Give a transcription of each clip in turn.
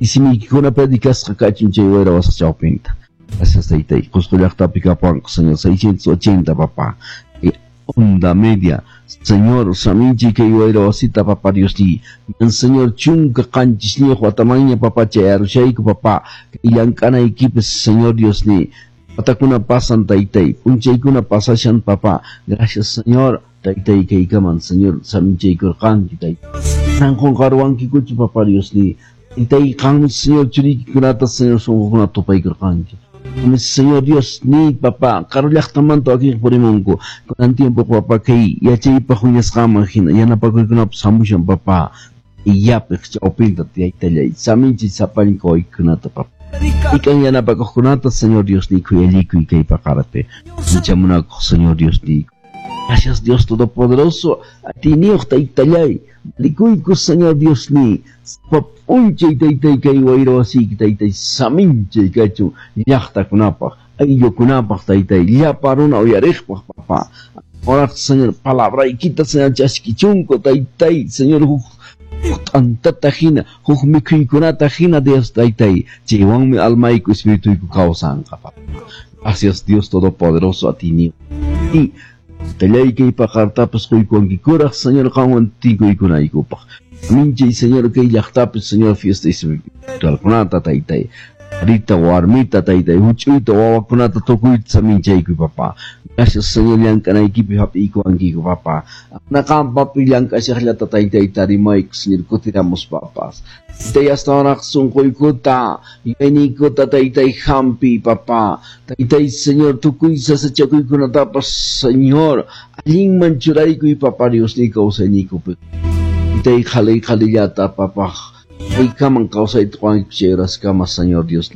Isimiykikuna predicasqa kachun chay wayra wasiq chawpinta. Gracias, taytay. Qusqu llaqtapi kapuwanqa, Señor, 680, papá. Onda media. Señor, saminchi kay wayra wasita, papá Diosniy. Ñan, Señor, 17 watamanña, papá, chayarushayku, papá. Kay llank'anaykipis, Señor Diosniy. Watakuna pasan, taytay. P'unchaykuna pasashan, papá. Gracias, Señor. Taytay kaykaman, Señor, saminchaykurqanki, taytay. Manan qunqaruwankikuchu, papá Diosniy. Taytay, qanmi, Señor, churiykikunata, Señor, sunqukunata tupaykurqanki. Qanmi, Señor Dios, niy, papá, karu llaqtamanta wakinqa purimunku. Kunan tiempo, papá, kay yachaypaq wiñasqanman hina yanapakuykunapas hamushan, papá. Yapiq chawpinta, taytallay, saminchi sapallan kawaykunata, papá. Ikan yanapakuqkunata, Señor Dios, niy, khuyallikuy kay paqarpi. Ancha munakuq, Señor Dios, niy. Gracias, Dios Todopoderoso, atiyniyuq taytallay, valikuyku, Señor Dios, niy. Sapa p'unchay, taytay, kay wayra wasiyki, taytay, saminchay kachun llaqtakunapaq, ayllukunapaq, taytay, llapa runa uyariqpaq, papá. Ahora, Señor, palabraykita, Señor, chaskichunku, taytay, Señor, huk t'antata hina, huk mikhuykunata hina, Dios, taytay, chaywanmi almayku, espirituyku kawsanqa, papá. Gracias, Dios Todopoderoso, atiyniyuq. Y tallay kay paqartapas quykuwankikuraq, Señor, qanwan tinkuykunaykupaq. Aminchay, Señor, kay llaqtapi, Señor, fiesta espiritualkunata, taytay. Rita, warmita, taytay, huch'uyta, wawakunata tukuyta saminchaykuy, papá. Gracias, Señor, llank'anaykipi hap'iykuwankiku, papá. Naqanpapi llank'ashaqllata, taytay, tarimayku, Señor, kutiramuspapas. Taytay, astawanraq sunquykuta, yuyayniykuta, taytay, hampiy, papá. Taytay, Señor, tukuy sasachakuykunatapas, Señor, allinman churaykuy, papá, Diosniy kawsayniykupi. Taytay, qhalay qhalillata, papá. Kaykaman kawsayta quwankiku chay horaskama, Señor Dios.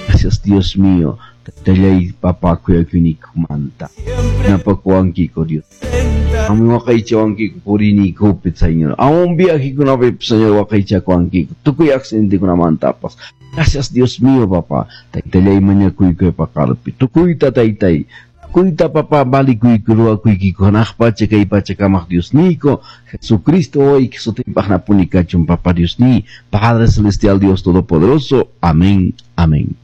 Gracias, Dios mío. Taytallay, papá, kuyakuynikumanta. Yanapakuwankiku, Dios. Qammi waqaychawankiku puriyniykupi, Señor. Aún viajekunapi, Señor, waqaychakuwankiku. Tukuy accidentekunamantapas. Gracias, Dios mío, papá. Taytallay, mañakuyku paqarpi. Tukuyta, taytay. Tukuyta, papá, valikuyku, ruwakuykiku. Hanaq pacha, kay pacha kamaq Diosniyku. Jesucristo, wawayki sutinpaq napuni kachun, papá Diosniy. Padre Celestial, Dios Todopoderoso. Amén. Amén.